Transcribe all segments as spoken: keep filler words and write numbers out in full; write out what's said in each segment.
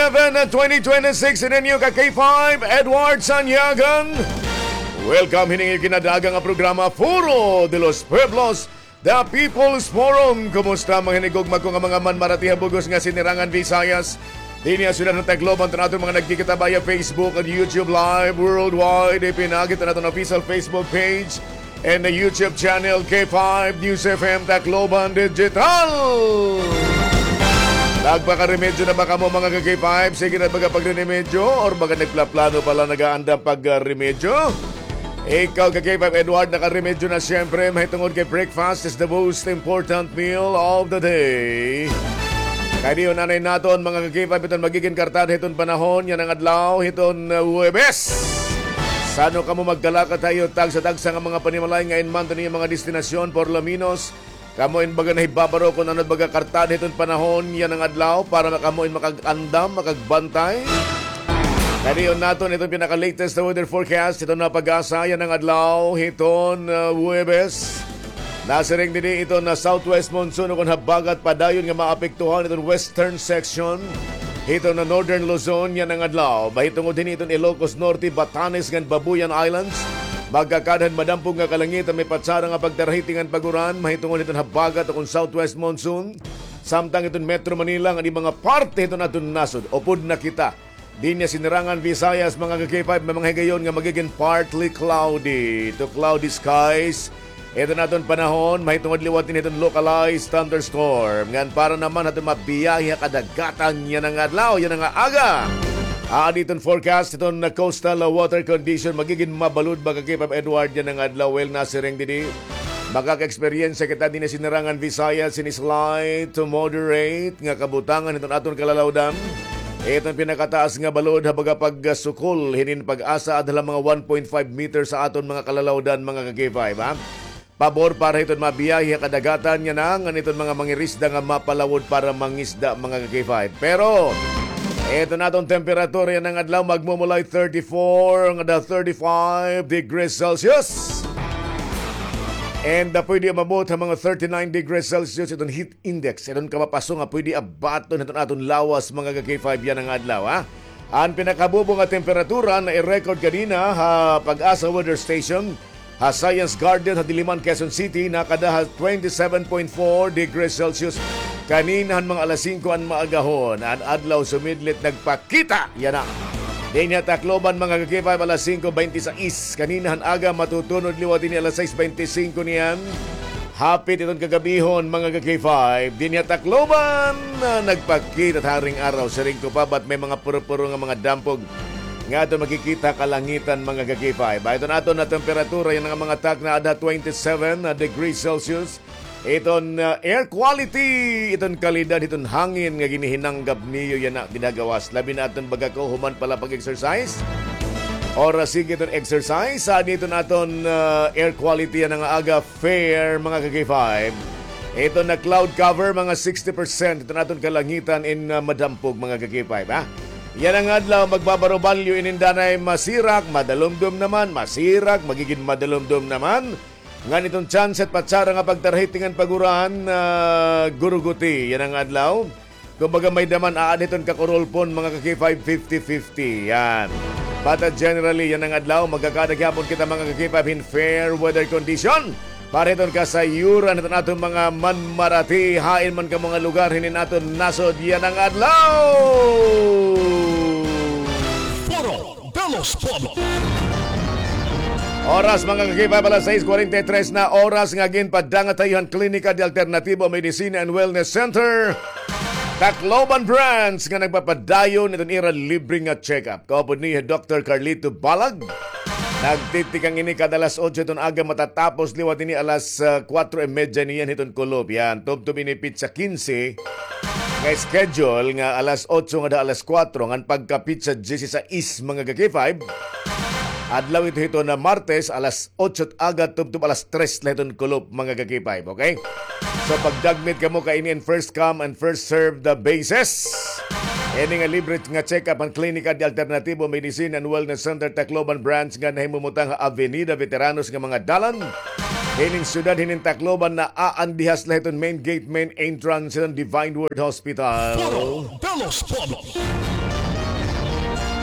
Seven, twenty twenty-six, in inyo ka K five, Edward Sanyagan. Welcome, hining iyo kinadagan nga programa, Foro de los Pueblos, The People's Forum. Kumusta, mga hinigugma ko nga mga manmarati ha bug-os nga sinirangan Visayas? Dinhi ha syudad han Tacloban, iton aton mga nagkikita via Facebook and YouTube Live worldwide. Ipinagi iton aton official Facebook page and the YouTube channel, K five News F M Tacloban Digital. Nagpakaremedyo na ba kamo, mga ka-K five? Sige na ba ka pagremedyo? Or baga nagplaplano pa la, nagaandam pagremedyo? Ikaw, ka-K five Edward, nakaremedyo na siyempre. Mahitungod kay breakfast is the most important meal of the day. Kay diyon anay naton, mga ka-K five, iton magigin kartada hiton panahon yana nga adlaw, hiton, uh, Huwebes. San-o kamo magkalakat ha iyo tagsa-tagsa nga mga panimalay, nga in man iton iyo mga destinasyon, por lo menos, kamo in baga nahibabaro kon ano it baga kartada hiton panahon yana nga adlaw para kamo in makag-andam, makagbantay. Kay diyon naton iton pinaka-latest na weather forecast hiton na PAGASA yana nga adlaw hiton, uh, Huwebes. Nasiring didi iton na southwest monsoon ukon habagat padayon nga maapektuhan iton western section hiton na northern Luzon yana nga adlaw. Mahitungod hini iton Ilocos Norte, Batanes ngan Babuyan Islands. Magkakada han madampog nga kalangitan, may patsara nga pagtarahiti ngan pag-uran mahitungod hiton habagat ukon southwest monsoon. Samtang iton Metro Manila ngan mga parte hiton aton nasod, upod na kita. Dinhi ha sinirangan Visayas, mga ka-K five, may mga higayon nga magigin partly cloudy to cloudy skies iton aton panahon, mahitungod liwat hini hiton localized thunderstorm. Ngan para naman ha aton mabiyahe ha kadagatan yana nga adlaw, yana nga aga, aadi iton forecast hiton na coastal water condition, magigin mabalod ba, ka-K five Edward, yana nga adlaw? Well, nasiring didi, makaka-eksperyensya kita dinhi ha sinirangan Visayas hin slight to moderate nga kabutangan hiton aton kalalawdan. Iton pinakataas nga balod ha baga pagsukol hinin PAGASA adto la mga one point five meters ha aton mga kalalawdan, mga ka-K five, ha? Pabor para hiton mabiyahe ha kadagatan yana ngan iton mga mangirisda nga mapalawod para mangisda, mga ka-K five. Pero iton aton temperatura yana nga adlaw, magmumulay thirty-four ngada thirty-five degrees Celsius. And, ah, pwede umabot ha mga thirty-nine degrees Celsius iton heat index. Iton kamapaso nga pwede abaton hiton aton lawas, mga ka-K five, yana nga adlaw, ha? An pinakabubo nga temperatura na i-record kanina ha PAGASA Weather Station ha Science Garden ha Diliman, Quezon City, nakada ha twenty-seven point four degrees Celsius kanina han mga alas singko an maagahon. An adlaw sumidlit, nagpakita yana dinhi ha Tacloban, mga ka-K five, alas singko bente sais kanina han aga, matutunod liwat ini alas sais bente singko niyan. Hapit iton kagabihon, mga ka-K five, dinhi ha Tacloban, ah, nagpakita it haring araw. Siring ko pa, ba't may mga puro-puro nga mga dampog nga aton makikita ha kalangitan, mga ka-K five? Iton aton na temperatura yana nga mga takna, ada twenty-seven, ah, degrees Celsius. Iton, ah, air quality, iton kalidad hiton hangin nga ginihinanggap niyo yana, ginagawas. Labi na iton baga kahuman pa la pag-exercise. Oras sige iton exercise. Sa iton aton, ah, air quality yana nga aga, fair, mga ka-K five. Iton na cloud cover, mga sixty percent. Iton aton kalangitan in, ah, madampog, mga ka-K five, ha? Yana nga adlaw, magbabarobalyo inin danay, masirak, madalumdom naman, masirak, magigin madalumdom naman. Ngan iton tsansa hit patsara nga pagtarahiti ngan pag-uran, ah, guruguti yana nga adlaw. Kumbaga, may-ada man, aada hiton kakurulpon, mga ka-K five, fifty fifty. Yan. But, ah, generally, yana nga adlaw, magkakada gihapon kita, mga ka-K five, hin fair weather condition para hiton kasayuran hiton aton mga manmarati, hain man kamo nga lugar hinin aton nasod yana nga adlaw. Foro de los Pueblos. Oras, mga ka-K five, alas sais kwarenta y tres na oras nga ginpadangat ha iyo han Klinika de Alternativo Medicina and Wellness Center, Tacloban Branch, nga nagpapadayon hiton ira libre nga check-up. Kaupod niyo hi Doktor Carlito Balag. Nagtitikang ini kada alas otso hiton aga, matatapos liwat ini alas, ah, kuwatro y medya niyan hiton kulop. Yan, tubtob ini petsa kinse nga schedule nga alas otso ngada alas kuwatro, ngan pagka petsa diyesisais, mga ka-K five, adlaw ito hiton na Martes, alas otso it aga tubtob alas tres la hiton kulop, mga ka-K five, okay? So, pagdagmit kamo kay ini in first come and first served the basis. Ini nga libre nga check-up han Klinika de Alternativo Medicine and Wellness Center Tacloban Branch nga nahimumutang ha Avenida Veteranos nga mga dalan hinin syudad hinin Tacloban, naaandihas la hiton main gate, main entrance hiton Divine Word Hospital. Foro de los Pueblos.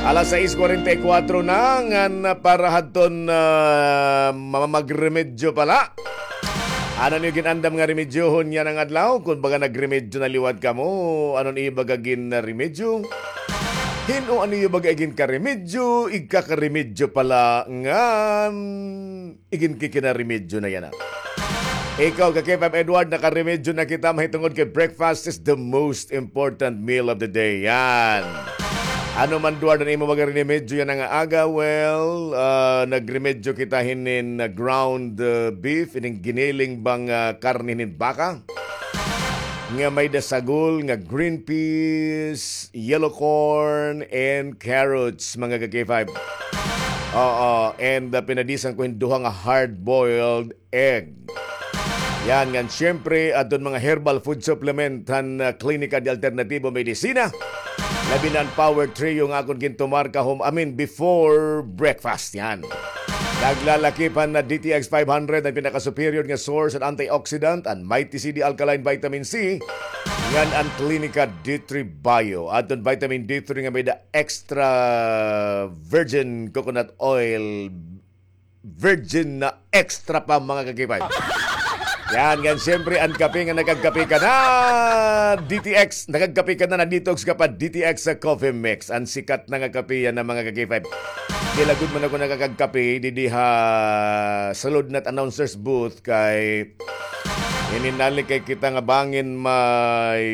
Alas sais kwarenta y kuwatro na, ngan para hadton, ah, mamagremedyo pala. Ano niyo gin-andam nga remedyohon yana nga adlaw? Kon baga nagremedyo na liwat kamo, ano niyo baga gin-, ah, remedyo? Hin-o ano niyo baga igin karemedyo, igkakaremedyo pala ngan igin kikinaremedyo na yana. Ikaw, ka K five Edward, nakaremedyo na kita mahitungod kay breakfast is the most important meal of the day. Yan. Ano man, Edward, an imo baga remedyo yana nga aga? Well, ah, nagremedyo kita hinin, ah, ground, ah, beef, hinin giniling ba nga, ah, karne hinin baka. Nga may-ada sagol, nga green peas, yellow corn, and carrots, mga ka-K five. Oo, and, ah, pinadisan ko hin duha nga hard-boiled egg. Yan, ngan siyempre, adton mga herbal food supplement han, ah, Klinika de Alternativo Medicina. Labi na an Power Trio nga akon gintumar kahum-, I mean, before breakfast. Yan. Naglalakip han D T X five hundred, an pinaka-superior nga source han antioxidant, an Mighty C D Alkaline Vitamin C, ngan an Klinika D three Bio. Adton vitamin D three nga may-ada extra virgin coconut oil, virgin na extra pa, mga ka-K five. Yan, ngan siyempre, an kape nga nakagkape ka na, D T X, nakagkape ka na, na-detox ka pa, D T X sa Coffee Mix. An sikat na nga kape yana, mga ka-K five. Di lagod man ako nakakagkape, didi ha sulod na announcer's booth kay ininali kay kita nga bangin may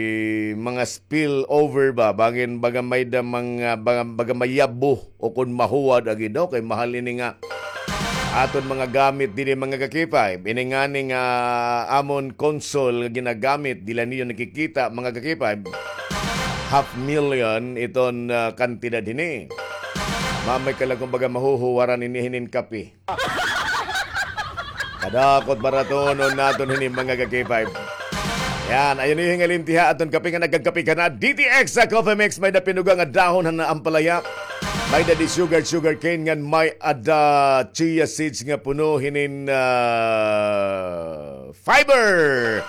mga spill over ba, bangin baga may-ada mga, baga, baga mayabo o kon mahuwad agi daw kay mahal ini nga aton mga gamit didi, mga ka-K five. Ini ngani nga amon console nga ginagamit, diri la niyo nakikita, mga ka-K five. Half million iton, ah, kantidad hini. Mamay ka la kon baga mahuhuwaran ini hinin kape. Kadakot baratonon naton hini, mga ka-K five. Yan, ayaw niyo hingalimti ha, aton kape nga nagkagkape ka na. D T X sa Coffee Mix, may-ada pinuga nga dahon han ampalaya. May-ada di sugar, sugar cane, ngan may-ada chia seeds nga puno hinin, ah, fiber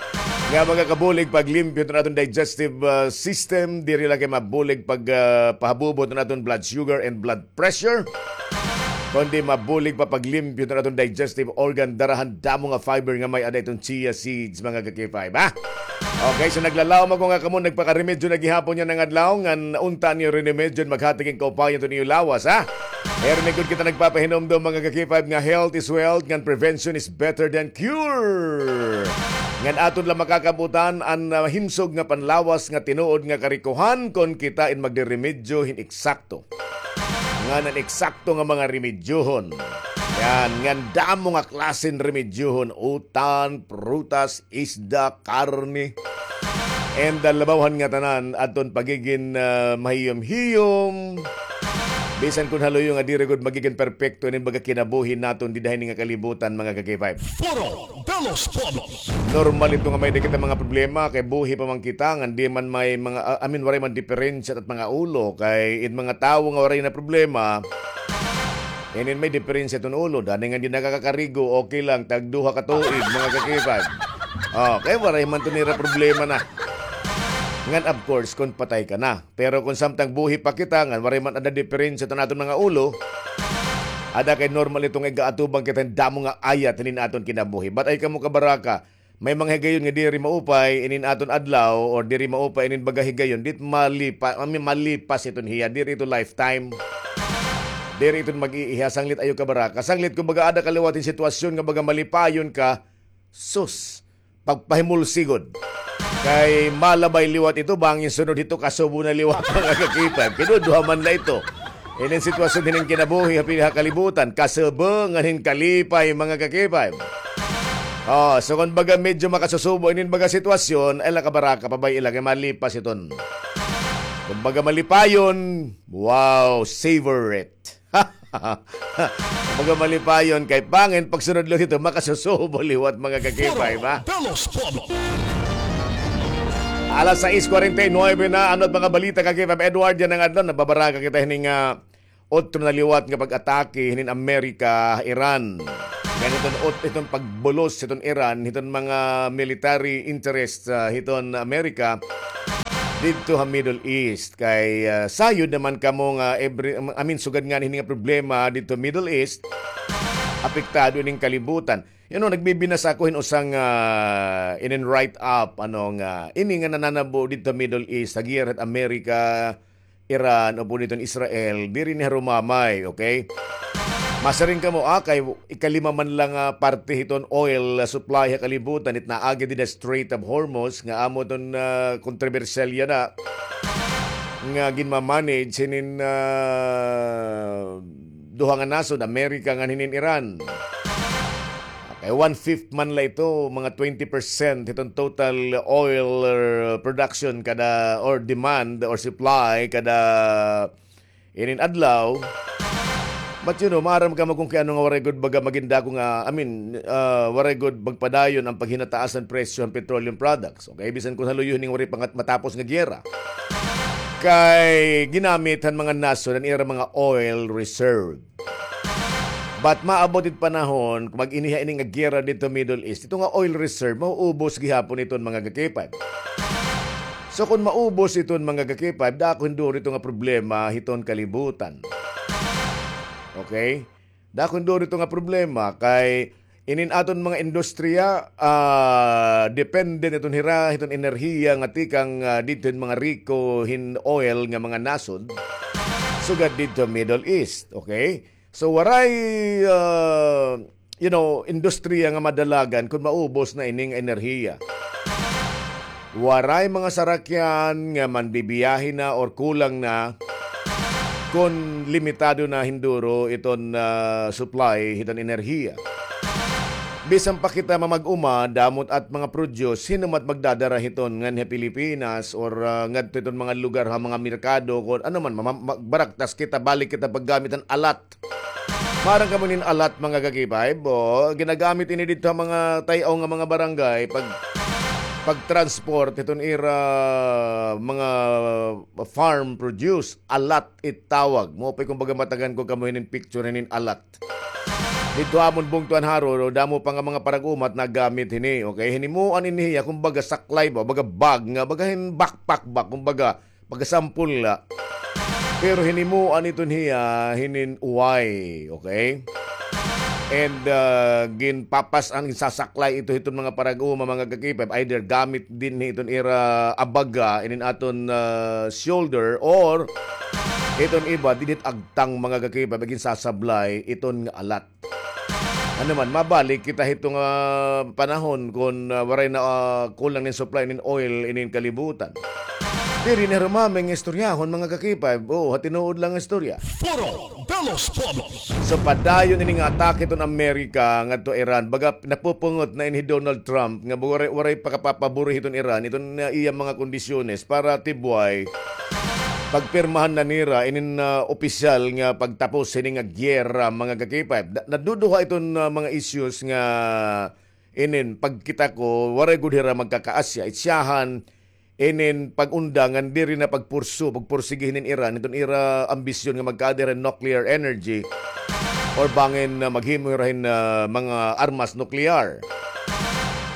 nga makakabulig paglimpyo hiton aton digestive, ah, system. Diri la kay mabulig pag, ah, pahabubo hiton aton blood sugar and blood pressure, kundi mabulig pa paglimpyo hiton aton digestive organ, dara han damo nga fiber nga may-ada hiton chia seeds, mga ka-K five, ha? Okay, so naglalaom ako nga kamo nagpakaremedyo na gihapon yana nga adlaw, ngan unta niyo rinimedyo, maghati king kaupayan hiton iyo lawas, ha? Hermigod kita nagpapahinumdom, mga ka-K five, nga health is wealth, ngan prevention is better than cure. Ngan aton la makakabutan an, ah, himsog nga panlawas nga tinuod nga karikohan kon kita in magriremedyo hin eksakto. Ngan an eksakto nga mga remedyohon. Yan, ngan damo nga klase hin remedyohon, utan, prutas, isda, karne. And, ah, labaw han ngatanan, aton pagigin, ah, mahiyom-hiyom. Bisan kon ha luyo nga diri gud magigin perpekto inin baga kinabuhi naton dida hini nga kalibutan, mga ka-K five. Foro de los Pueblos. Normal ito nga may-ada kita mga problema, kay buhi pa man kita, ngan di man may mga, ah, I mean, waray man diperensya it mga ulo, kay it mga tawo nga waray na problema, inin may diperensya iton ulo, dani ngan di nakakakarigo, okay lang, tagduha ka tuig, mga ka-K five. Oh, kay waray man to nira problema na. Ngan, of course, kon patay ka na. Pero kon samtang buhi pa kita, ngan waray man ada diperensya iton aton mga ulo, ada kay normal ito nga igaatubang kita hin damo nga ayat hinin aton kinabuhi. But ay kamo kabaraka, may mga higayon nga diri maupay inin aton adlaw, or diri maupay inin baga higayon, dit malipa-, I mean, malipas iton hiya, diri ito lifetime. Diri iton mag-iiha, sanglit ayaw kabaraka. Sanglit kon baga ada ka liwat hin sitwasyon nga baga malipayon ka, sus, pagpahimulsi gud. Kay malabay liwat ito, bangin sunod hito, kasubo na liwat, mga ka-K five. Kinuduha man la ito. Inin sitwasyon hinin kinabuhi ha pili ha kalibutan, kasubo ngan hin kalipay, mga ka-K five. Oh, so kon baga medyo makasusubo inin baga sitwasyon, ay la kabaraka, pabay-i la kay malipas iton. Kon baga malipayon, wow, savor it. Baga malipayon kay bangin pagsunod liwat ito, makasusubo liwat, mga ka-K five, ha? Foro de los Pueblos. Alas sais kwarenta y nuebe na, ano it mga balita, ka-K five Edward, yana nga adlaw, nababaraka kita hinin, ah, otro na liwat nga pag-atake hinin Amerika, Iran. Ngan iton ot-, iton pagbulos hiton Iran hiton mga military interest, ah, hiton Amerika. didto ha Middle East. Kay, ah, sayod naman kamo nga every, I mean, sugad ngani hini nga problema didto Middle East, apektado ining kalibutan. You know, nagbibinasa ako hin usa nga, ah, inin write-up, ano, nga ini nga nananabo didto Middle East, ha giyera hit America, Iran, o pud hiton Israel, diri ni harumamay, okay? Masiring kamo, ah, kay ikalima man la nga parte hiton oil, ah, supply ha kalibutan, it naagi dida Strait of Hormuz, nga amo iton, ah, kontrobersyal yana, nga ginmamanage hinin, ah, duha nga nasod, America ngan hinin Iran. Okay, one-fifth man la ito, mga twenty percent hiton total oil, uh, production kada, or demand, or supply kada inin adlaw. But, you know, maaram kamo kon kay ano nga waray gud baga magindako nga, I mean, uh, waray gud magpadayon an paghinataas han presyo han petroleum products. Okay, bisan kon ha luyo hini nga waray pa nga matapos nga giyera. Kay ginamit han mga nasod an ira mga oil reserve. But maabot it panahon, mag-iniha ini nga giyera didto Middle East, ito nga oil reserve, mauubos gihapon iton mga ka-K five. So, kon maubos iton mga ka-K five, dako hin duro ito nga problema hiton kalibutan. Okay? Dako hin duro ito nga problema kay inin aton mga industriya, ah, depende iton hira, hiton enerhiya nga tikang, ah, didto hin mga riko hin oil nga mga nasod, sugad didto Middle East, okay? So, waray, ah, you know, industriya nga madalagan kon maubos na ining enerhiya. Waray mga sarakyan nga manbibiyahe na or kulang na kon limitado na hin duro iton, ah, supply hiton enerhiya. Bisan pa kita mamag-uma, damo it mga produce, hin-o man it magdadara hiton nganhi ha Pilipinas or, ah, ngadto hiton mga lugar ha mga merkado, kon ano man, ma-, ma-, magbaraktas kita, balik kita paggamit han alat. Maaram kamo inin alat, mga ka-K five, o, ginagamit ini didto ha mga tay-aw nga mga barangay pag, pag-transport hiton ira mga farm produce, alat it tawag. Mao pa kumbaga matagan ko kamo hinin picture hinin alat. Didto ha amon bungto han Jaro, damo pa nga mga parag-uma it nagamit hini, okay? Hinimuan ini hiya, kumbaga saklay ba, baga bag nga, baga hin backpack ba, kumbaga, pagkasampol la. Pero hinimuan iton hiya hinin uway, okay? And, ah, ginpapas-an, ginsasaklay ito hiton mga parag-uma, mga ka-K five, either gamit dinhi hiton ira abaga, inin aton, ah, shoulder, or hiton iba, dinhi hit agtang, mga ka-K five, ginsasablay iton nga alat. Ano man, mabalik kita hito nga panahon kon, ah, waray na, ah, kulang nin supply nin oil inin kalibutan. Diri na harumamay nga istoryahon, mga ka-K five. Oo, ha tinuod lang nga istorya. Foro de los Pueblos. So, padayon ini nga atake hiton Amerika ngadto Iran. Baga, napupungot na ini hi Donald Trump nga waray, waray pa kapapabori hiton Iran, iton, ah, iya mga kondisyones para tibway pagpirmahan na nira inin, ah, opisyal nga pagtapos hini nga giyera, mga ka-K five. Da-, naduduha iton, ah, mga issues nga inin pagkita ko, waray gud hira magkakaasya. Itsyahan, inin pag-unda ngan diri na pagpursu, pagpursigi hinin Iran, iton ira ambisyon nga magkaada hira nuclear energy or bangin, ah, maghimo hira hin, ah, mga armas nuklear.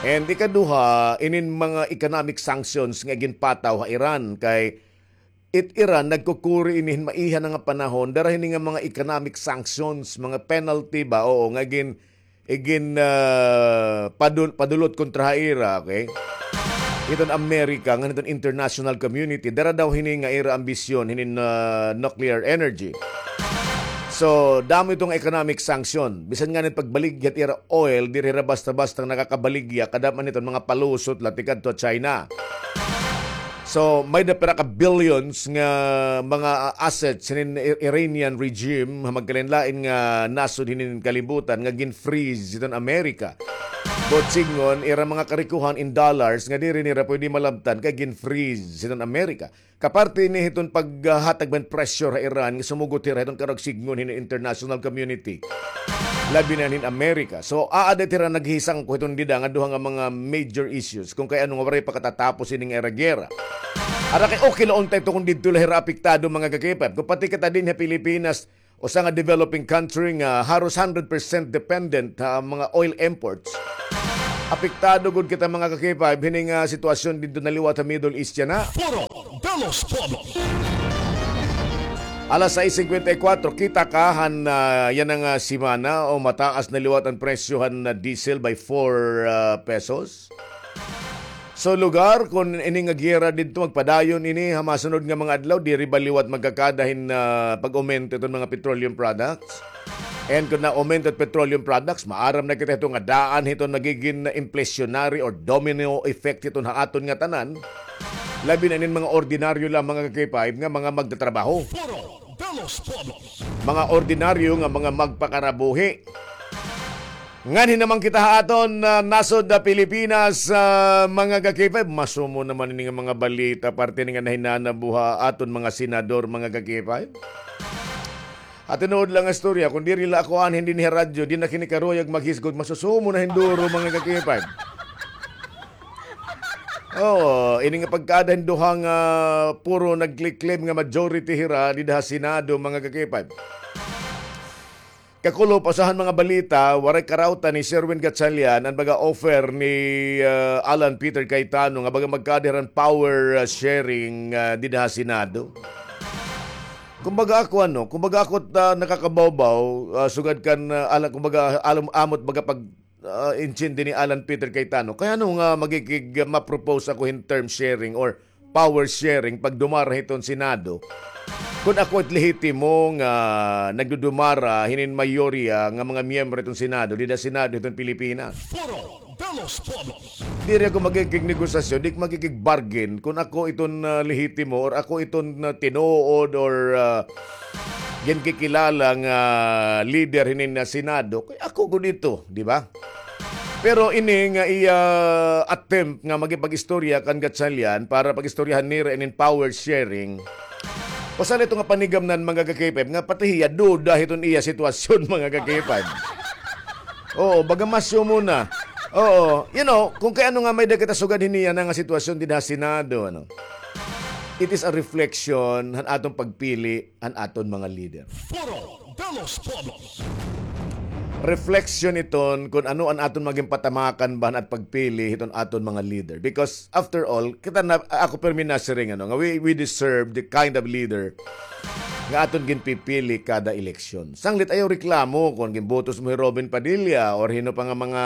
And ikaduha, inin mga economic sanctions nga ginpataw ha Iran kay it Iran nagkukuri ini hin maiha na nga panahon, dara hini nga mga economic sanctions, mga penalty ba, oo, nga gin-, igin, ah, padul-, padulot kontra ha ira, okay? Iton Amerika, ngan iton international community, dara daw hini nga ira ambisyon, hinin, ah, nuclear energy. So, damo ito nga economic sanction. Bisan ngani pagbaligya it ira oil, diri hira basta-basta nakakabaligya, kadam-an iton mga palusot la tikadto China. So, may-ada pira ka billions nga mga assets hinin I-, Iranian regime ha magkalain-lain nga nasod hinin kalibutan nga gin-freeze hiton Amerika. Buot sidngon, ira mga karikohan in dollars nga diri nira pwede malabtan kay gin-freeze hiton Amerika. Kaparte ini hiton paghatag man pressure ha Iran nga sumugot hira hiton karuyag sidngon hinin international community. Labi na hinin Amerika. So, aada it hira naghisangko hiton dida nga duha nga mga major issues kon kay ano nga waray pa katatapos ini nga ira giyera. Ara kay okay la unta ito kon didto la hira apektado, mga ka-K five. Kon pati kita dinhi ha Pilipinas, usa nga developing country nga haros hundred percent dependent ha mga oil imports. Apektado gud kita, mga ka-K five, hining, ah, sitwasyon didto na liwat ha Middle East yana. Foro de los Pueblos. Alas sais singkwenta y kwatro, kita ka han, ah, yana nga semana, o mataas na liwat an presyo han, ah, diesel by four, ah, pesos. So, lugar, kun ini nga giyera didto magpadayon ini ha masunod nga mga adlaw, diri ba liwat magkakada hin, ah, pag-aumento iton mga petroleum products? And kun na-aumento it petroleum products, maaram na kita hito nga daan hiton magigin inflationary or domino effect hiton ha aton nga tanan. Labi na inin mga ordinaryo lang, mga ka-K five, nga mga magtatrabaho. Foro de los Pueblos. Mga ordinaryo nga mga magpakarabuhi. Nganhi naman kita ha aton, ah, nasod ha Pilipinas, ah, mga ka-K five. Masumo naman ini nga mga balita, parte ini nga nahinanabo ha aton mga senador, mga ka-K five. Ha tinuod lang nga istorya, kun diri la ako anhi dinhi ha radyo, di na kini karuyag maghisgot, masusumo na hin duro, mga ka-K five. Oo, ini nga pagkaada hin duha nga puro nagkliklib nga majority hira dida ha Senado, mga ka-K five. Kakulop, usa han mga balita, waray karawtan ni Sherwin Gatchalian an baga offer ni, ah, Alan Peter Cayetano nga baga magkaada hira hin power, ah, sharing, ah, dida ha Senado. Kumbaga ako, ano, kumbaga ako, ah, nakakabawbaw, ah, sugad kan, ah, Alan, kumbaga, alam, amot baga pag, ah, intindi ni Alan Peter Cayetano. Kay ano nga magigig, ah, ma-propose ako hin term sharing or power sharing pagdumara hiton Senado? Kun ako it lehitimo nga nagdudumara hinin mayorya nga mga miyembro hiton Senado, dida Senado hiton Pilipinas. Foro de los Pueblos. Diri ako magigig negosasyon, di magigig bargain kun ako iton, ah, lehitimo or ako iton, ah, tinuod or, ah, ginkikilala nga leader hinin, ah, Senado. Kay ako gud ito, di ba? Pero ini nga iya attempt nga makipag-istorya kan Gatchalian para pag-istoryahan nira inin power sharing, usa la ito nga panigamnan, mga ka-K five, nga pati hiya duda hiton iya sitwasyon, mga ka-K five. Oo, baga masumo na. Oo, you know, kun kay ano nga may-ada kita sugad hini yana nga sitwasyon dida ha Senado, ano. It is a reflection han aton pagpili han aton mga leader. Foro de los Pueblos. Reflection iton kun ano an aton magin patamakan ba han at pagpili hiton aton mga leader. Because after all, kita na, ako pirmi nasiring, ano, nga we, we deserve the kind of leader nga aton ginpipili kada eleksyon. Sanglit ayaw reklamo kun ginbotos mo hi Robin Padilla or hin-o pa nga mga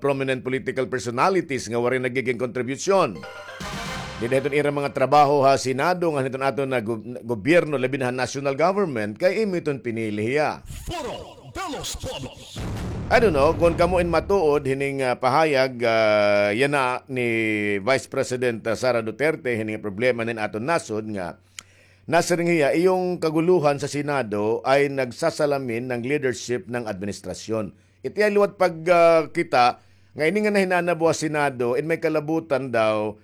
prominent political personalities nga waray nagigin kontribusyon dida hiton ira mga trabaho ha Senado ngan hiton aton nga gu-, gobyerno, labi na ha national government, kay imo iton pinili hiya. Foro de los Pueblos. I don't know kun kamo in matuod hining, ah, pahayag, ah, yana ni Vice President, ah, Sara Duterte, hining problema nin aton nasod nga nasiring hiya, iyong kaguluhan sa Senado ay nagsasalamin ng leadership ng administrasyon. It iya liwat pag, ah, kita nga ini nga nahinanabo ha Senado, in may kalabutan daw,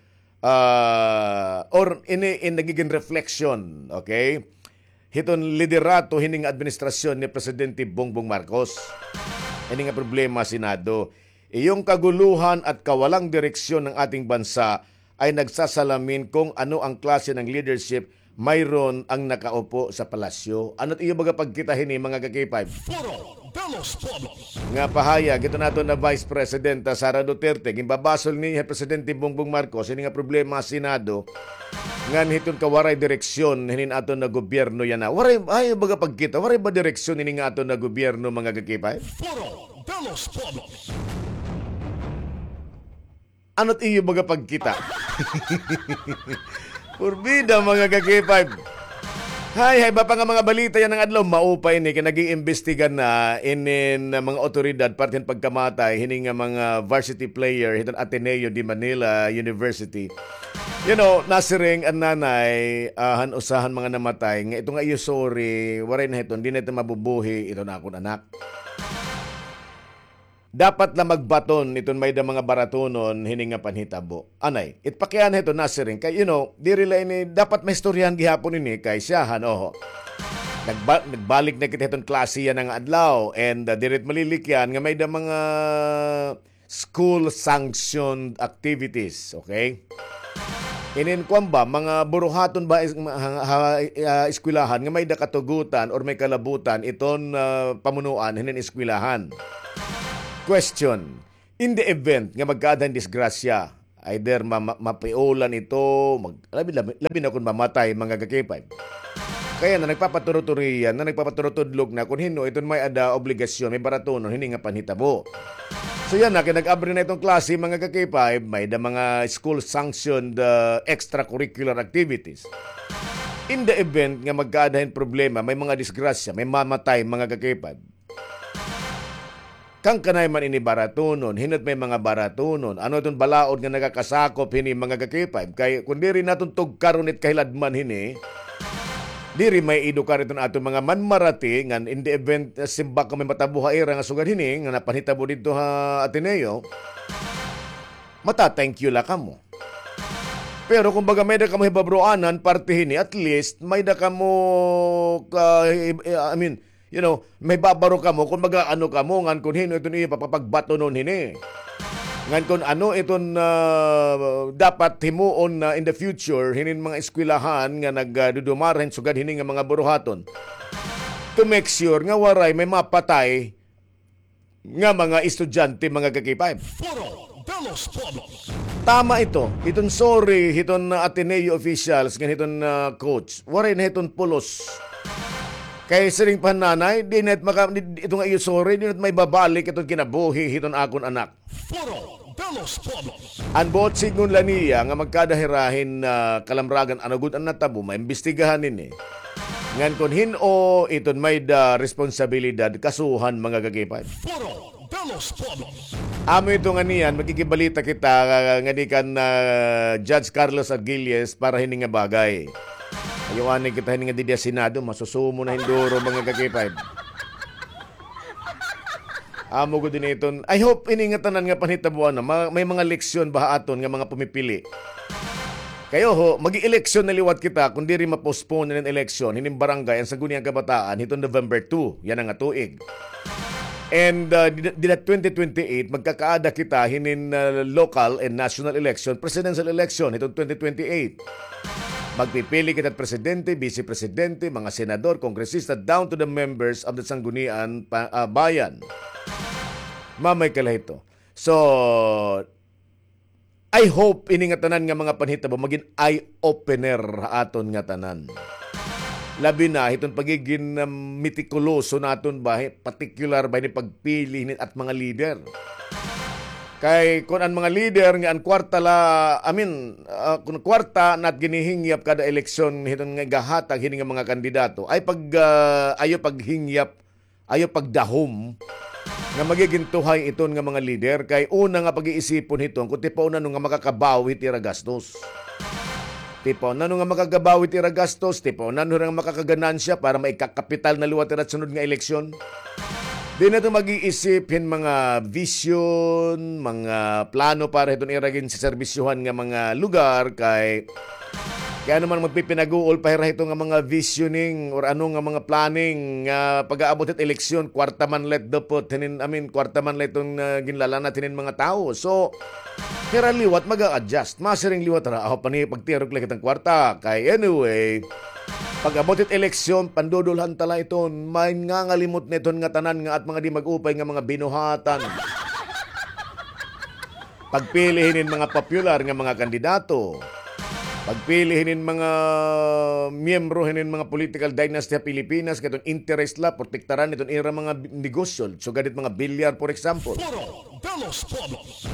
ah, or ini in nagigin reflection, okay? Hiton liderato hining administrasyon ni Presidente Bongbong Marcos. Ini nga problema ha Senado. Iyong kaguluhan at kawalang direksyon ng ating bansa ay nagsasalamin kung ano ang klase ng leadership mayroon ang nakaupo sa palasyo. Ano't iyo baga pagkita hini, mga ka-K five? Foro de los Pueblos. Nga pahayag hiton aton nga Vice President, ah, Sara Duterte, ginbabasol niya hi Presidente Bongbong Marcos, hini nga problema ha Senado, ngan hiton kawaray direksyon hinin aton nga gobyerno yana. Waray, ay, baga pagkita, waray ba direksyon hini nga aton nga gobyerno, mga ka-K five? Foro de los Pueblos. Ano't iyo baga pagkita? Purbida, mga ka-K five. Hay, hay, iba pa nga mga balita yana nga adlaw, maupay ini, kay nag-iimbestiga na inin, ah, mga awtoridad, parte hin pagkamatay hini nga mga varsity player hiton Ateneo de Manila University. You know, nasiring an nanay, ah, han usa han mga namatay, nga ito nga iyo, sorry, waray na hiton, di na hiton mabubuhi, iton akon anak. Dapat la magbaton iton may-ada mga baratunon hini nga panhitabo. Anay, it pakiana hiton nasiring kay, you know, diri la ini, dapat maistoryahan gihapon ini kay siyahan, oho. Nagba-, nagbalik na kita hiton klase yana nga adlaw and, uh, diri it malilikyan nga may-ada mga school sanctioned activities, okay? Inin kuan ba, mga buruhaton ba is-, ha, ha, ah, eskwelahan nga may-ada katugutan or may kalabutan iton, ah, pamunuan hinin eskwelahan? Question, In the event nga magkaada hin disgrasya, either ma-, ma-, mapiulan ito, mag-, labi, labi, labi na kon mamatay, mga ka-K five. Kay yana, nagpapaturuturiyan, nagpapaturutudlok na kon hin-o iton may-ada obligasyon, may baratunon hini nga panhitabo. So yana, kay nag-abri na iton klase, mga ka-K five, may-ada mga school-sanctioned, ah, extracurricular activities. In the event nga magkaada hin problema, may mga disgrasya, may mamatay, mga ka-K five, kan kanay man ini baratunon, hin-o it may mga baratunon, ano iton balaod nga nakakasakop hini, mga ka-K five? Kay kon diri naton tugkaron it kahiladman hini, diri may edukar iton aton mga manmarati ngan in the event, ah, simbako may matabo ha ira nga sugad hini nga napanhitabo didto ha Ateneo, mata-thank you la kamo. Pero kumbaga, may-ada kamo hibabaroanan parte hini, at least may-ada kamo ka, I mean, you know, may babaro kamo kon mag-aano kamo ngan kon hin-o iton iyo papapagbatonon hini. Ngan kon ano iton, ah, dapat himuon na in the future hinin mga eskwelahan nga nagdudumara hin sugad hini nga mga buruhaton, to make sure nga waray may mapatay nga mga estudyante, mga ka-K five. Foro de los Pueblos. Tama ito. Iton sorry hiton Ateneo officials ngan hiton, ah, coach, waray na hiton pulos. Kay siring pa han nanay, di na it maka-, di, ito nga iyo sorry, di na it maibabalik iton kinabuhi hiton akon anak. Foro de los Pueblos. An buot sidngon la niya nga magkaada hira hin, ah, kalamragan, ano gud an natabo, maimbestigahan ini. Ngan kon hin-o iton may-ada responsabilidad, kasuhan, mga ka-K five. Foro de los Pueblos. Amo ito nga niyan, magkikibalita kita, ah, ngadi kan, ah, Judge Carlos Argilles para hini nga bagay. Ayaw anay kita hini nga didi ha Senado, masusumo na hin duro, mga ka-K five. Amo gud ini iton. I hope ini nga tanan nga panhitaboan na, ma-, may mga leksyon ba ha aton nga mga pumipili? Kay oho, mag-eleksyon na liwat kita kon diri ma-postpone ini nga eleksyon hinin barangay an Sangguniang Kabataan hiton November two, yana nga tuig. And, ah, dida, dida twenty twenty-eight, magkakaada kita hinin, ah, local and national election, presidential election hiton twenty twenty-eight. Magpipili kita presidente, vice presidente, mga senador, kongresista, down to the members of the Sangguniang pa-, ah, Bayan. Mamay ka la hito. So, I hope ini nga tanan nga mga panhitabo magin eye-opener ha aton nga tanan. Labi na hiton pagigin, um, mitikuloso naton ba, hi-, partikular ba hini pagpili hini it mga lider. Kay kon an mga lider nga an kwarta la, I mean, ah, kon kwarta na it ginihingyap kada eleksyon hiton nga igahatag hini nga mga kandidato, ay pag, ah, ayaw paghingyap, ayaw pagdahom nga magigin tuhay iton nga mga lider. Kay una nga pag-iisipon hiton kon tipaon ano nga makakabawi hit ira gastos. Tipaon ano nga makakabawi hit ira gastos, tipaon ano nga makakaganansya para maikakapital na liwat hira hit sunod nga eleksyon. Di na ito mag-iisip hin mga vision, mga plano para hiton ira ginseserbisyohan nga mga lugar, kay Kay ano man magpipinaguol pa hira hito nga mga visioning or ano nga mga planning nga pag-aabot hit eleksyon, kwarta man la it dupot hinin, I mean, kwarta man la iton, ah, ginlalanat hinin mga tawo. So, hira liwat mag-a-adjust. Masiring liwat hira, aho pa ni pagtirok la kitang kwarta. Kay anyway, pag-abot hit eleksyon, pandudulhan ta la iton, mangangalimot na iton nga tanan nga at mga di mag-upay nga mga binuhatan. Pagpili hinin mga popular nga mga kandidato. Pagpili hinin mga miyembro hinin mga political dynasty ha Pilipinas, kay iton interest la, protektaran iton ira mga bi-, negosyo. Sugad hit mga bilyar, for example. Foro de los Pueblos.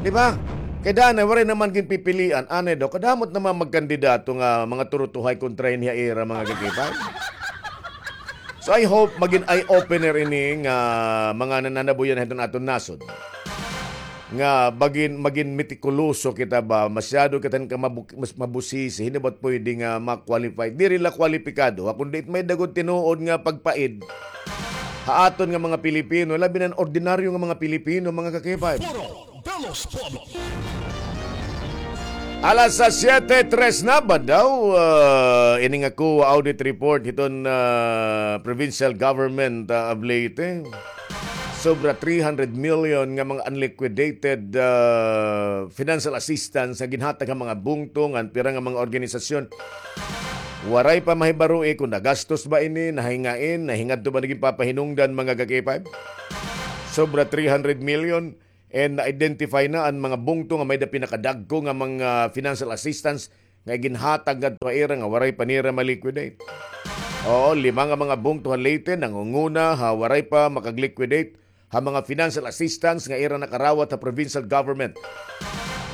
Di ba? Kay danay, waray naman ginpipilian. Anay daw, kadamot naman magkandidato nga mga turutuhay kontra hini ha ira mga kakipay. So, I hope magin eye-opener ini nga mga nananabuyan hiton aton nasod. Nga magin, magin mitikuloso kita ba, masyado kita ka mabu-, mas mabusisi, hindi ba't pwede nga ma-qualify? Diri la kwalipikado, ha, kundi may dagod tinuod nga pagpaid ha aton nga mga Pilipino, labi na an ordinaryo nga mga Pilipino, mga kakipay. Foro de los Pueblos. Alas siyete tres na ba daw, ah, ini nga COA audit report hiton, ah, provincial government, ah, of Leyte. Sobra three hundred million nga mga unliquidated, ah, financial assistance nga ginhatag ha mga bungto ngan pira nga mga organisasyon. Waray pa mahibaroi kon nagastos ba ini, nahingain, nahingadto ba nagin papahinungdan, mga kakipay? Sobra three hundred million. And na-identify na an mga bungto nga may-ada pinakadagko nga mga financial assistance nga iginhatag ngadto ha ira nga waray pa nira ma-liquidate. Oo, lima nga mga bungto ha Leyte nangunguna ha waray pa makag-liquidate ha mga financial assistance nga ira nakarawat ha provincial government.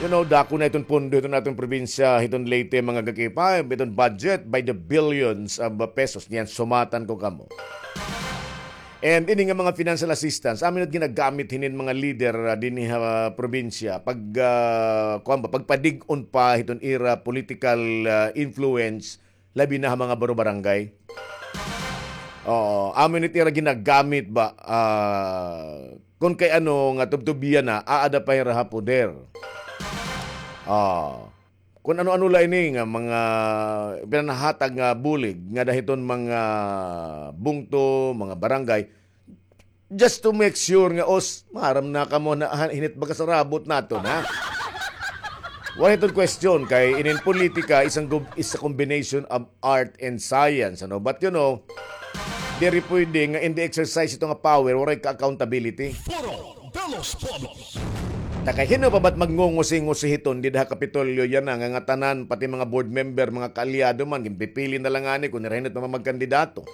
You know, dako na iton pondo hiton aton probinsya, hiton Leyte, mga ka-K five, iton budget by the billions of pesos. Niyan, sumatan ko kamo. And ini nga mga financial assistance, amo it ginagamit hinin mga lider, ah, dinhi ha probinsya pag, ah, kuwan ba, pagpadig-on pa hiton ira political, ah, influence, labi na ha mga baro-barangay. Oo, amo it ira ginagamit ba, ah, kun kay ano nga tubtubyan na, aada pa hira ha poder. Ah, kun ano-ano la ini nga mga ipinanahatag nga bulig ngada hiton mga bungto, mga barangay, just to make sure nga, os, maaram na kamo na, ha, hin it baga sarabot naton, ha? Waray iton question kay inin politika, isang gub-, is a combination of art and science, ano? But, you know, diri pwede nga in the exercise ito nga power, waray ka accountability. Foro de los Pueblos. Ta kay hin-o pa ba't magngungusi-ngusi hiton dida ha Kapitolyo yana nga ngatanan, pati mga board member, mga kaalyado man, ginpipili na la ngani kun hira hin it mamagkandidato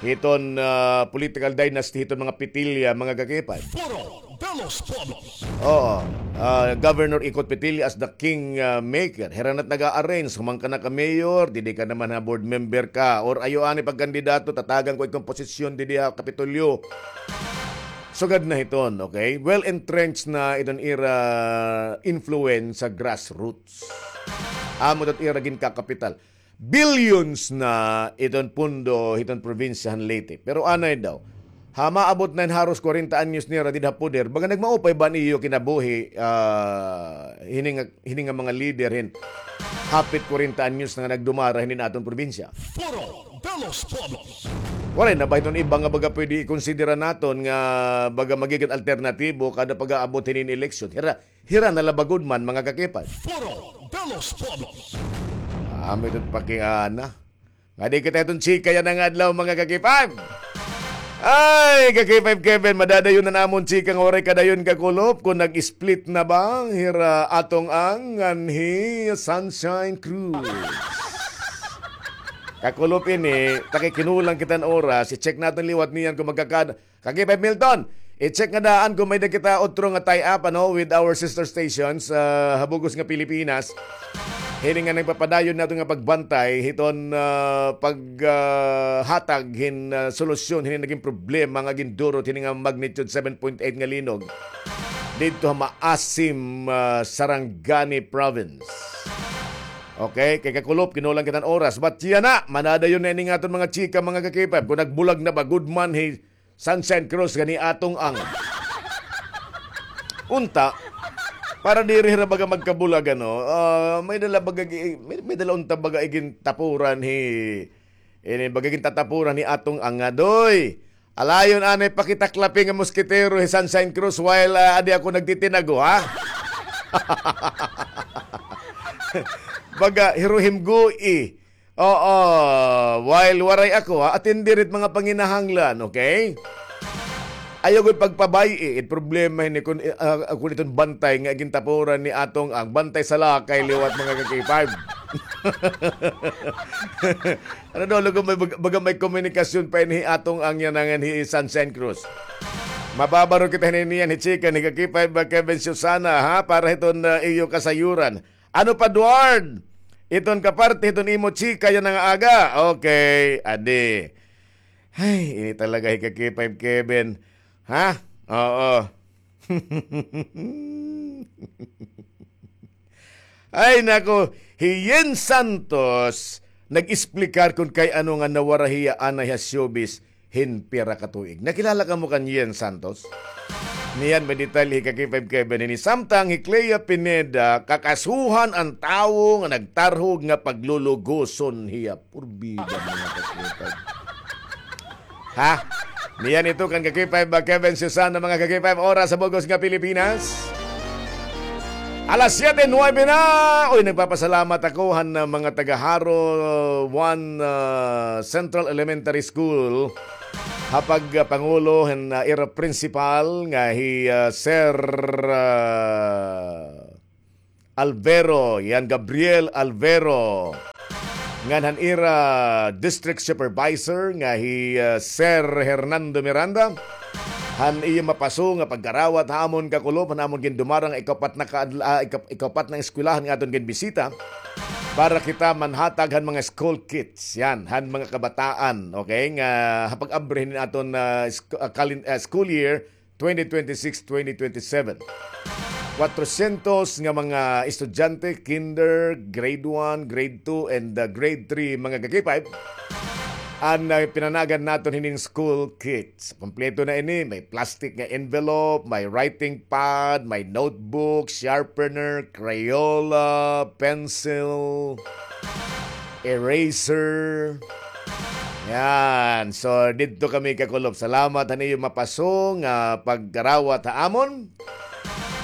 hiton, ah, political dynasty hiton mga Petilla, mga ka-K five. Foro de los Pueblos. Oo. Ah, Governor Ikot Petilla as the king, ah, maker. Hira na it nag-a-arrange, human ka na ka mayor, didi ka naman ha board member ka. Or ayaw anay pagkandidato, tatagan ko it komposisyon didi ha Kapitolyo. Sugad na hiton, okay? Well entrenched na iton ira influence sa grassroots. Amo it ira ginkakapital. Billions na iton pondo hiton probinsya han Leyte. Pero anay daw, ha maabot na hin haros kwarenta anyos nira dida ha poder, baga nagmaupay ba an iyo kinabuhi, ah, hini nga, hini nga mga lider hin hapit kwarenta anyos na nga nagdumara hinin aton probinsya? Foro de los Pueblos. Waray na ba hiton iba nga baga pwede ikonsidera naton nga baga magigin alternatibo kada pag-aabot hinin eleksyon? Hira, hira na la ba gud man, mga ka-K five. Foro de los Pueblos. Amo iton pakiana. Nga di kita iton chika yana nga adlaw, mga ka-K five. Ay, ka-K five Kevin, madadayon na namon chika nga waray kadayon, kakulop, kun nag-split na ba hira Atong Ang ngan hi Sunshine Cruz. Kakulop ini, ta kay kinulang kita hin oras, i-check naton liwat niyan kun magkakada. Ka-K five Milton, i-check nga daan kun may-da kita utro nga tie-up, ano, with our sister stations, ah, ha bug-os nga Pilipinas. Hini nga nagpapadayon naton nga pagbantay hiton, ah, pag, ah, hatag hin, ah, solusyon hini nagin problema nga gindurot hini nga magnitude seven point eight nga linog didto ha Maasim, ah, Sarangani Province. Okay, kay kakulop, kinulang kita hin oras. But yana, manadayon na ini nga aton mga chika, mga ka-K five. Kun nagbulag na ba gud man hi Sunshine Cruz ngan hi Atong Ang. Unta, para diri hira baga magkabulag, ano, ah, may-da la baga gi-, may, may-da la unta baga igintapuran hi, ini baga gintatapuran hi Atong Ang nga, "Doy, alayon anay pakitaklapi nga moskitero hi Sunshine Cruz while, ah, adi ako nagtitinago, ha?" Baga, hiruhimgoi. Oo, while waray ako, ha, atindi it mga panginahanglan, okay? Ayaw gud pagpabay-i, it problema hini kun, ah, kun iton bantay nga gintapuran ni Atong Ang, bantay sa lakay liwat, mga ka-K five. Ano daw, lugo may bag-, baga may komunikasyon pa ini hi Atong Ang yana ngan hi Sunshine Cruz. Mababaro kita hini niyan, hi chika ni ka-K five, ah, Kevin Susana, ha, para hiton, ah, iyo kasayuran. Ano pa, Duard? Iton kaparte hiton imo chika yana nga aga. Okay, adi. Ay, ini talaga hi ka-K five Kevin. Ha? Oo. Ay, nako. Hi Yen Santos, nag-esplikar kun kay ano nga nawara hiya anay ha showbiz hin pira ka tuig. Nakilala kamo kan Yen Santos? Niyan may detalye hi ka-K five Kevin hini. Samtang hi Clea Pineda, kakasuhan an tawo nga nagtarhog nga paglulugoson hiya. Purbida, mga ka-K five. Ha? Niyan ito kan ka-K five ba, Kevin Susana, mga ka-K five, oras sa bug-os nga Pilipinas. Alas siyete nuwebe na. Uy, nagpapasalamat ako han, ah, mga taga Jaro one, ah, Central Elementary School. ha pag, ah, pangulo han, ah, ira principal nga hi, ah, Sir, ah, Alvero, yan, Gabriel Alvero. Ngan han ira district supervisor nga hi, ah, Sir Hernando Miranda. Han iyo mapaso nga pagkarawat ha amon, kakulop, han amon gindumarang ikaupat na kaadla-, ah, ika-, ikaupat na eskwelahan nga aton ginbisita para kita manhatag han mga school kits, yan, han mga kabataan, okay, nga ha pag-abri hinin aton, ah, sk-, ah, kalin-, ah, school year twenty twenty-six, twenty twenty-seven. Kwatrosyentos nga mga estudyante, kinder, grade one, grade two, and, uh, grade three, mga ka-K five, an, uh, pinanagan naton hining school kits. Kompleto na ini, may plastic nga envelope, may writing pad, may notebook, sharpener, Crayola, pencil, eraser. Yan. So, didto kami, kakulop. Salamat han iyo mapaso nga pagkarawat ha amon.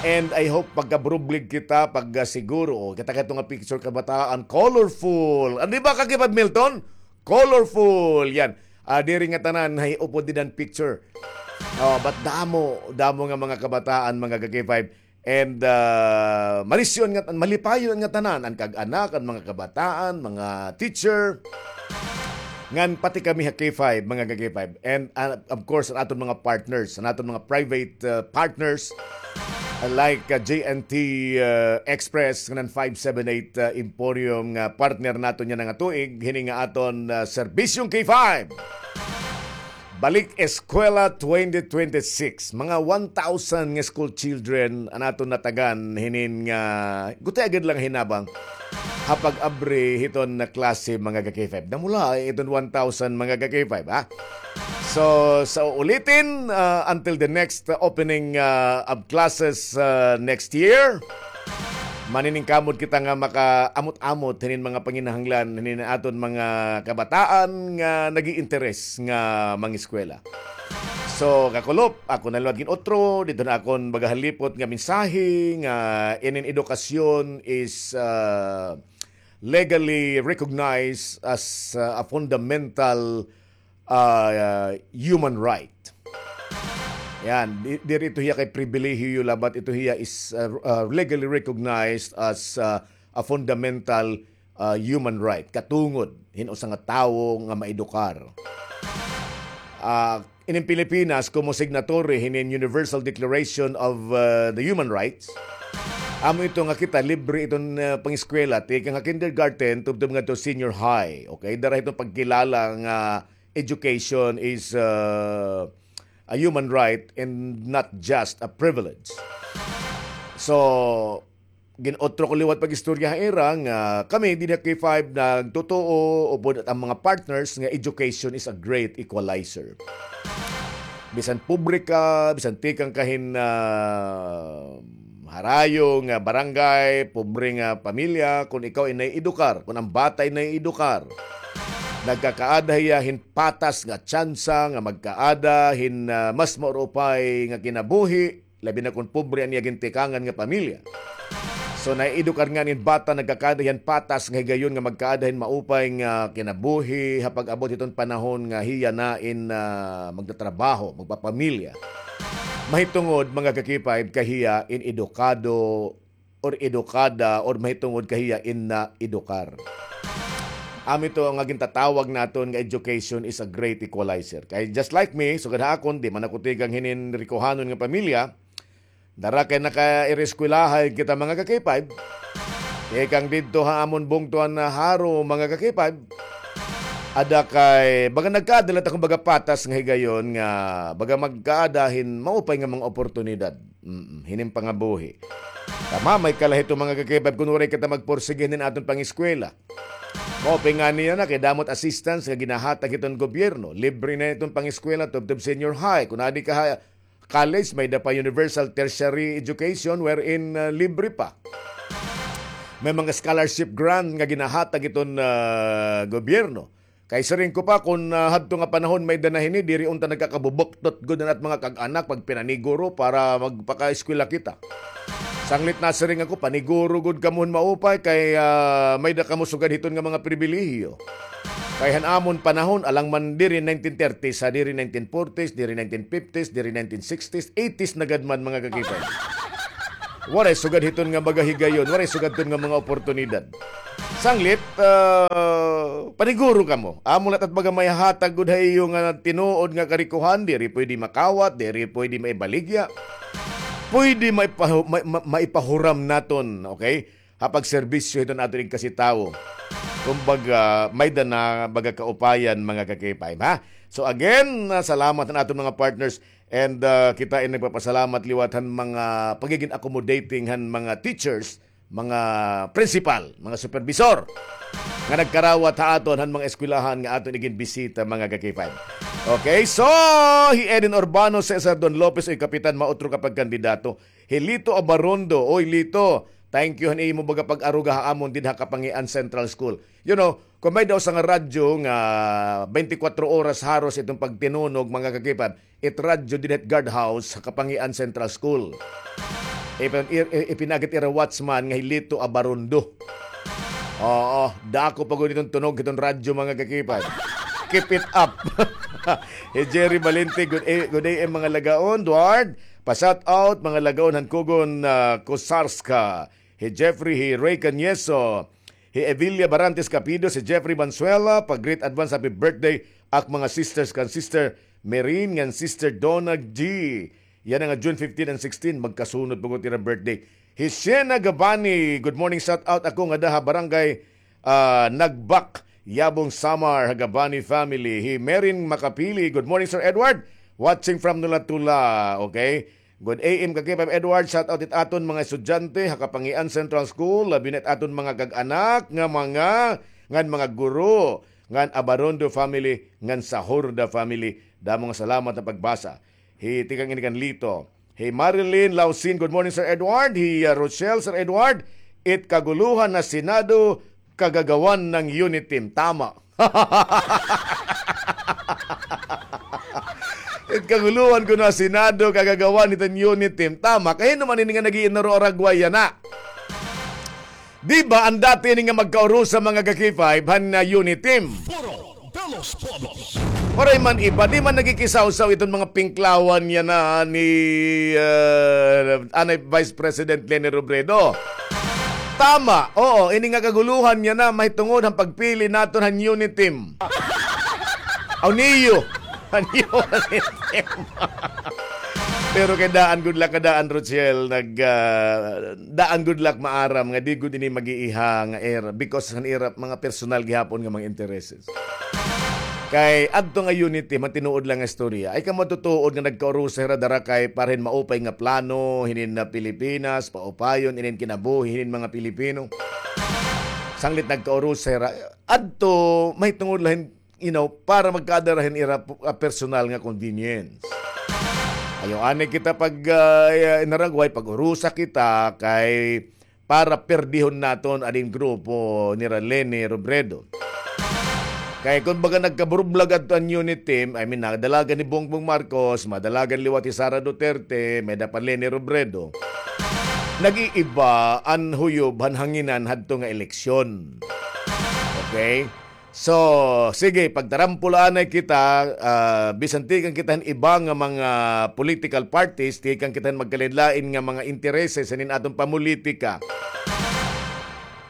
And I hope pagkabrublig kita, pagkasiguro. O, kita kato nga picture, kabataan, colorful. Ano ba, ka-K five, Milton? Colorful. Yan. Ah, diri nga tanan, hay upod din an picture. Oh, but damo, damo nga mga kabataan, mga ka-K five. And, ah, malisyon nga, malipayon nga tanan, an kag-anak, an mga kabataan, mga teacher, ngan pati kami ha K five, mga ka-K five. And, ah, of course, an aton mga partners, an aton mga private, ah, partners, ah, like, ah, J N T, ah, Express, ngan five seven eight, ah, Emporium, nga partner naton yana nga tuig, hini nga aton, ah, Serbisyong K five. Balik Eskwela twenty twenty-six. Mga one thousand nga school children an aton natagan hinin nga gutiay gad la nga hinabang ha pag-abri hiton nga klase, mga ka-K five. Damula iton one thousand, mga ka-K five, ha? So, sa uulitin, ah, until the next, uh, opening, uh, of classes, uh, next year, maniningkamot kita nga makaamot-amot hinin mga panginahanglan hinin aton mga kabataan nga nag-iinteres nga mangiskwela. So, kakulop, ako na liwat gin-utro, didto na akon baga halipot nga mensahe nga inin edukasyon is, uh, legally recognized as, uh, a fundamental, uh, human right. Yan, di-, diri ito hiya kay pribilehiyo la, but ito hiya is, uh, uh, legally recognized as, uh, a fundamental, uh, human right. Katungod hin usa nga tawo nga maedukar. Ah, inin Pilipinas, komo signatory hinin Universal Declaration of, uh, the Human Rights, amo ito nga kita libre iton, uh, pangiskwela, tikang ha kindergarten tubtob ngadto senior high. Okay, dara hiton pagkilala nga education is, uh, a human right and not just a privilege. So, gin-utro ko liwat pag-istorya ha ira nga kami dinhi ha K five nagtutuo upod an mga partners nga education is a great equalizer. Bisan pobre ka, bisan tikang ka hin, ah, harayo nga barangay, pobre nga pamilya, kon ikaw ay naiedukar, kon an bata ay naiedukar, nagkakaada hiya hin patas nga tsansa nga magkaada hin, ah, mas maurupay nga kinabuhi, labi na kon pobre an iya gintikangan nga pamilya. So, naiedukar ngani an bata, nagkakaada hiya hin patas nga higayon nga magkaada hin maupay nga kinabuhi ha pag-abot hiton panahon nga hiya na in, ah, magtatrabaho, magpapamilya. Mahitungod, mga ka-K five, kay hiya in edukado or edukada or mahitungod kay hiya in naedukar. Amo ito nga gintatawag naton nga education is a great equalizer. Kay just like me, sugad ha akon, di man ako tikang hinin rikohanon nga pamilya, dara kay nakaireskwelahay kita, mga ka-K five. Tikang didto ha amon bungto han Jaro, mga ka-K five. Ada kay, baga nagkaada la it akon baga patas nga higayon nga baga magkaada hin maupay nga mga oportunidad. Mm, hinin pangabuhi. Kay mamay ka la hito, mga ka-K five, kon waray kita magpursige hinin aton pangiskwela. Maupay ngani yana kay damo it assistance nga ginahatag hiton gobyerno. Libre na iton pangiskwela tubtob senior high. Kon adi ka ha college, may-ada pa universal tertiary education wherein, uh, libre pa. May mga scholarship grant nga ginahatag iton, uh, gobyerno. Kay siring ko pa, kon, ah, hadto nga panahon may-ada na hini, diri unta nagkakabubuktot gud an at mga kag-anak pagpinaniguro para magpakaeskwela kita. Sanglit nasiring ako, paniguro gud kamo hin maupay kay, ah, may-ada kamo sugad hiton nga mga pribilehiyo. Kay han amon panahon, alang man diri nineteen thirties, ha, diri nineteen forties, diri nineteen fifties, diri nineteen sixties, eighties na gad man, mga kakipay. Waray sugad hiton nga mga higayon, waray sugad hiton nga mga oportunidad. Sanglit, ah, paniguro kamo. Amo la it baga maihatag gud ha iyo nga tinuod nga karikohan, diri pwede makawat, diri pwede maibaligya. Pwede maipahu-, ma-, ma-, maipahuram naton, okay? Ha pagserbisyo hiton aton igkasi tawo. Kumbaga, may-ada na baga kaupayan, mga ka-K five, ha? So again, ah, salamat han aton mga partners. And, ah, kita ay nagpapasalamat liwat han mga pagiging accommodating han mga teachers, mga principal, mga supervisor nga nagkarawat ha aton han mga eskwelahan nga aton iginbisita, mga ka-K five. Okay, so hi Eden Urbano, Cesar Don Lopez, oy Kapitan, mautro ka pagkandidato. Hi Lito Abarondo, oy Lito, thank you han imo baga pag-aruga ha amon dida ha Kapangian Central School. You know, kung may daw sa nga radyo nga twenty-four oras haros iton pagtinunog, mga ka-K five, it radyo dida hit guardhouse ha Kapangian Central School. Ipin-, i-, i-, ipinaagi hit ira watchman nga hi Lito Abarondo. Oo, dako pa gud iton tunog hiton radyo, mga ka-K five. Keep it up. Hi Jerry Valente, good, a-, good A M, mga lagaon. Duard, pa-shout out, mga lagaon han Kugon, ah, Kusarska. Hi Jeffrey, hi Ray Cañeso, hi Evilia Barantes Capido, si Jeffrey Banzuela, pa-greet advance happy birthday ak mga sisters kan Sister Merin ngan Sister Donna G. Yana nga June fifteen and sixteen, magkasunod pa gud ira birthday. Hi Shena Gabani, good morning, shout out ako ngada ha barangay, ah, Nagbak, Yabong, Samar, ha Gabani family. Hi Merin Makapili, good morning, Sir Edward. Watching from Nulatula, okay? Good A M ka-K five Edward, shout out it aton mga estudyante ha Kapangian Central School, labi na it aton mga kag-anak nga mga, ngan mga guro, ngan Abarondo family, ngan Sahurda family. Damo nga salamat ha pagbasa. Hi, tikang ini kan Lito. Hi Marilyn Lausin, good morning, Sir Edward. Hi, uh, Rochelle, Sir Edward, it kaguluhan na Senado, kagagawan ng Unitim. Tama. It kaguluhan kuno ha Senado, kagagawan hiton Unitim. Tama. Kay hin-o man ini nga nag-iinaro-aragway yana? Di ba, an dati ini nga magkaurusa, mga ka-K five, han, ah, Unitim? Foro de los Pueblos. Waray man iba, di man nagkikisawsaw iton mga pingklawan yana ni, ah, anay Vice President Leni Robredo. Tama, oo, ini nga kaguluhan yana mahitungod han pagpili naton han Unitim. Aw, niyo. Han Unitim. Pero kay daan gud la, kay daan, Rochelle, nag, ah, daan gud la maaram nga di gud ini mag-iiha nga era because han ira mga personal gihapon nga mga intereses. Kay adto nga Unitim, tinuod la nga istorya. Ay ka matutuod nga nagkaurusa hira dara kay para hin maupay nga plano hinin na Pilipinas, paupayon inin kinabuhi hinin mga Pilipino. Sanglit nagkaurusa hira, adto mahitungod la hin, you know, para magkaada ra hin ira, ah, personal nga convenience. Ayaw anay kita pag, ah, inaragway, pag-urusa kita kay para perdihon naton an grupo nira Leni Robredo. Kay kun baga nagkaburublag adto an Unitim, I mean, nadalagan ni Bongbong Marcos, madalagan liwat hi Sara Duterte, may-ada pa Leni Robredo. Nag-iiba an huyob han hanginan hadto nga eleksyon. Okay? So, sige, pagtarampola anay kita, ah, bisan tikang kita han iba nga mga political parties, tikang kita han magkalain-lain nga mga intereses hinin aton pamolitika.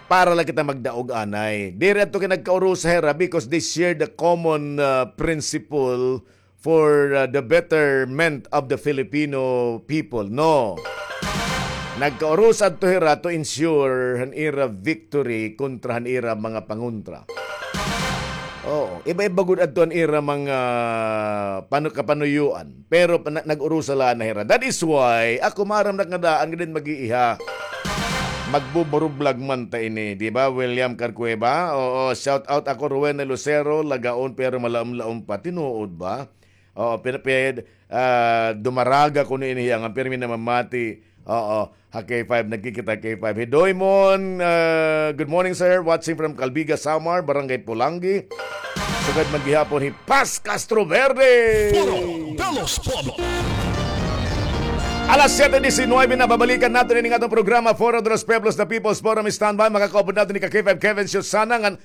Para la kita magdaog anay. Diri adto kay nagkaurusa hira because they share the common, ah, principle for, uh, the betterment of the Filipino people. No. Nagkaurusa adto hira to ensure han ira victory kontra han ira mga pangontra. Oo, iba-iba gud adto an ira mga panu-, kapanuyuan. Pero pa-, na-, nag-urusa la na hira. That is why ako maaram na nga daan nga din mag-iiha. Magbuburublag man ta ini, di ba, William Carcueva? Oo, shout out ako, Rowena Lucero, lagaon pero malaom-laom pa. Tinuod ba? Oo, pin-, pin-, ah, dumaraga kuno ini hiya nga pirmi namamati. Oo, ha K five, nagkikita ha K five. Hi Doymon, ah, good morning, sir. Watching from Calbiga, Samar, Barangay Polangui. Sugad man gihapon hi Paz Castro Verde. Foro de los Pueblos. Alas siyete disinuybe na, babalikan naton ini nga atong programa, Foro de los Pueblos, the People's Forum. Standby, makakaupod naton ni ka K five Kevin Susana ngan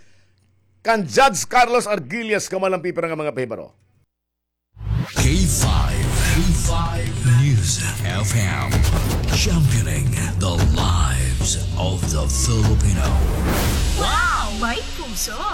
kan Judge Carlos Arguillas, kamo la an pipira nga mga pahibaro. K five, K five News F M, championing the lives of the Filipino. Wow! May puso!